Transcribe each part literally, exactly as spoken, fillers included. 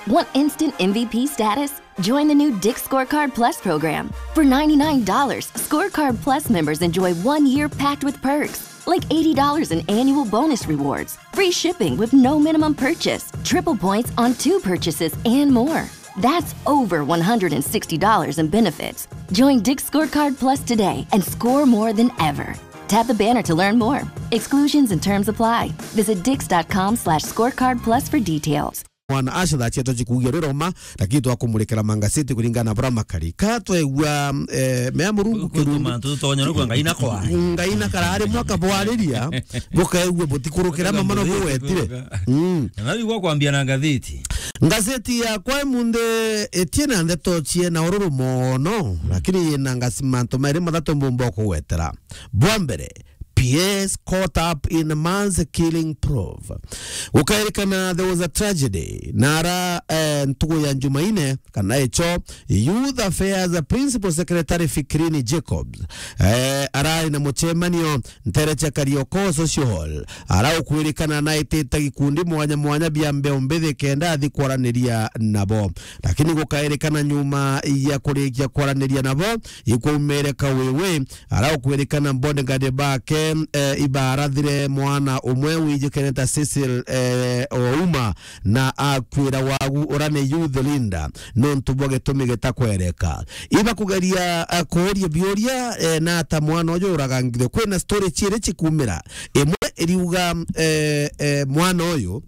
Want instant M V P status? Join the new Dick's Scorecard Plus program. For ninety-nine dollars, Scorecard Plus members enjoy one year packed with perks, like eighty dollars in annual bonus rewards, free shipping with no minimum purchase, triple points on two purchases, and more. That's over one hundred sixty dollars in benefits. Join Dick's Scorecard Plus today and score more than ever. Tap the banner to learn more. Exclusions and terms apply. Visit dicks.com slash scorecard plus for details. Mwana acio thaa cietu cikugia riroma, lakini twakumurekera mangaseti kuringana na bura makari. Ka twegua, eh, mea Murungu. Ku-, kirungu. Kutuma tutonya rugwa Ngai na kwa. Ngai na karari mwaka bwariria, bukaigua butikurukira. Kutoka mama no ngathiti bugwetire. Kutoka. Mm. Na naigua kwambia na ngathiti. Ngathiti yakwa imunthi itie na ndeto cie na ururu mono, lakini yina ngasi mantu mairi mathatu mbumba kugwetera. Bwa mbere, P S caught up in man's killing probe. Gukairikana there was a tragedy. Nara, eh, ntugu ya Jumaine, kana echo, Youth Affairs Principal Secretary Fikrini Jacobs, eh, arari na muchemanio ntere cia Karioko Social Hall. Ara ukwirikana naitite gikundi mwanya mwanya bia mbeu mbithi kenda athi kwaraniria nabo. Lakini gukairikana nyuma ya kurikia kwaraniria nabo, ikwaumiire kawiwi, ara ukwirikana bodyguard bake, eh, ibarathire mwana umwe wijikene ta Cecil, eh, Ouma, na akwira wagu ura ni youth leader nontu bwa gitumi gitakwereka. Ibakugeria, eh, kuuria biuria, eh, na ata mwana uju uragangithwe. Kwina story ciiri cikumira. Imwe iriuga, eh, eh, mwana uyu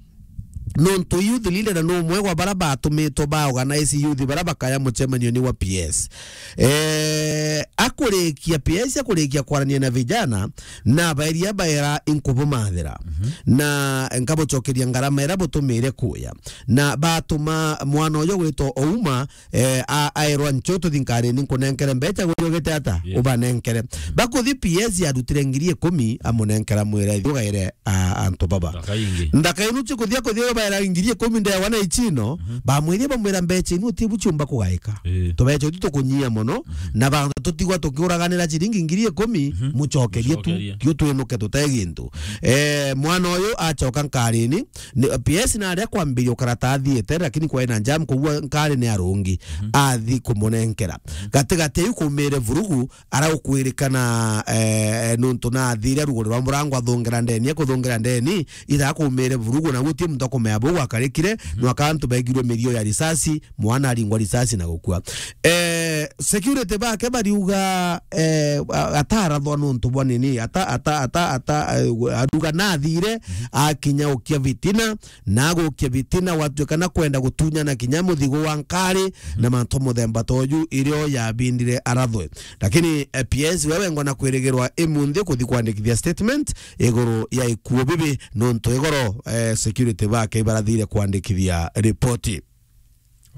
nontu youth leader na ni umwe gwa bara batumitwe ba organize youth bara bakaya muchemanio ni wa P S. Eh, akurikia P S, akurikia kwarania na vijana, na baeria baera inkubumathira. Mhm. Na nkabucokeria ngarama ira butumire kuya. Na batuma mwana uyu gwitwa Ouma, eh, a-, aerwa, "Ncho tuthi nkarini nkunenkere mbecha, gujogete ata?" Yes. Ubanenkere. Mhm. Bakuthi P S yarutire ngiri ikumi, amunenkera, mwira, "Ithi ugaire a-, antu baba." Ndaka ingi. Ndaka inu cikuthia kuthia baera ngiri ikumi ndewa na ichino, mhm, bamwiria bamwira, "Mbecha inu uti buchumba kugaika. Eh. Tubecha uti tukunyia mono, mhm, na bantu tutigwa tukiuraganira chiringi ngiri ikumi, mhm, mucokerie tu, mucokerie, tio twinuke tute gintu." Eh, mwana uyu acoka nkarini, ni, P S na aria kwambiria ukarata athiete, lakini kwai na jam, kugua nkari ni arungi, mhm, athi kumunenkera. Mhm. Gatigati iu kumire vurugu, ara ukwirikana, eh, nuntu na athire ruguri rwa murango athungera ndeni, akuthungera ndeni, ira kumire vurugu, na guti muntu akumea buu gwakarikire, mhm, nwaka antu begirwe mirio ya risasi, mwana aringwa risasi na gukua. Eh, security bake bariuga, eh, a-, atarathwa nuntu bwa nini, ata, ata, ata, ata, eh, aruga nathire, mhm, akinya ukia vitina, na agukia vitina, gwatuika na kwenda gutunyana kinya muthigo wa nkari, mhm, na mantu muthemba toju, irio yabindire arathwe. Lakini, eh, P S we wengwa na kwirigirwa imunthi kuthi kwandikithia statement iguru ya ikuo bibi, nuntu igoro, eh, security bake ibarathire kwandikithia ripoti.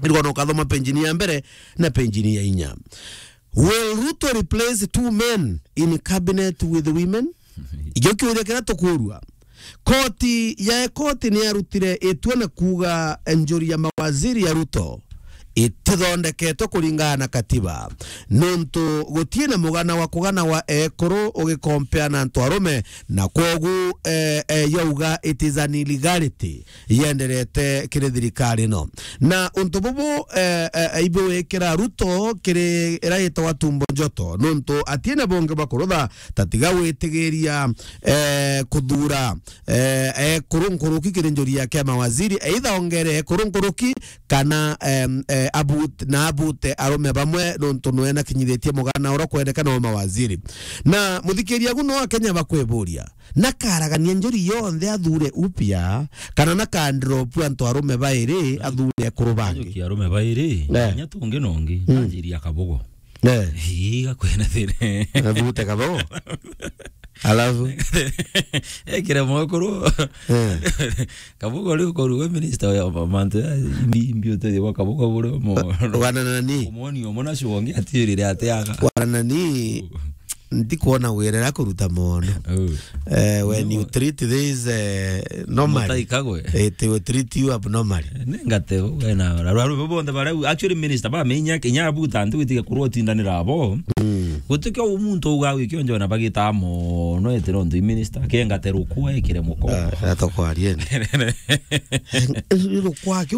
Irigwa no kathoma penjini ya mbere na penjini ya inya. Will Ruto replace two men in cabinet with women? Ikio kiuria kiria tukurua. Koti ya, koti ni yarutire itua na kuuga njuri ya mawaziri ya Ruto itithondeketwe kuringana na katiba, nontu gutie na mugana wa kugana wa ekuru ugikompea na antu arume, na kwogu, eh, eh, yauga it is an illegality yenderete kiri thirikari ino. Na untu bubu, eh, eh, ibuwikira Ruto kiri ira yitagwa tumbo njoto, nontu atie na bungi bwa kurutha ta tiga gwitigiria, eh, kuthura, eh, ekuru nkuruki kiri njuri yake ya mawaziri, either ongere ekuru nkuruki kana, em, eh, abut-, na abute arume bamwe, nontu nwe nakinyithitie mugana uria kwendekana wa mawaziri. Na muthikiria agu no Akenya bakwiburia, nakaragania njuri yonthe athure upya, kana nakandrop antu arume bairi athure ekuru bangi? Ajukia arume bairi, eh, kinya tungi nongi, mm, anjiria kabugo. Eh. Ii, gakwina thina. Abute kabugo. Alafu? Ekire mwekuru. Eh. Kabugo riu koru we minister ya ma-, mantu ya imbi, imbi utethi wa kabugo bure mo. Wana nani? Umoni umona shonge atirire ateaga. Wana nani? Ndikuona wira ra kuruta mono. Oh. Eh, when you treat this, eh, normally, mutai kagwe, it will treat you abnormally. Ningate wena, rarwa bonthe bara, actually, minister bamenya kinya abuta antu gutiga kurwo tindanira abo. Mm. Gutikio umuntu uga wikio njona bagita mono, etiro ntu minister kengate rukwa ekire muko. Ah, atokwarie. Rukwa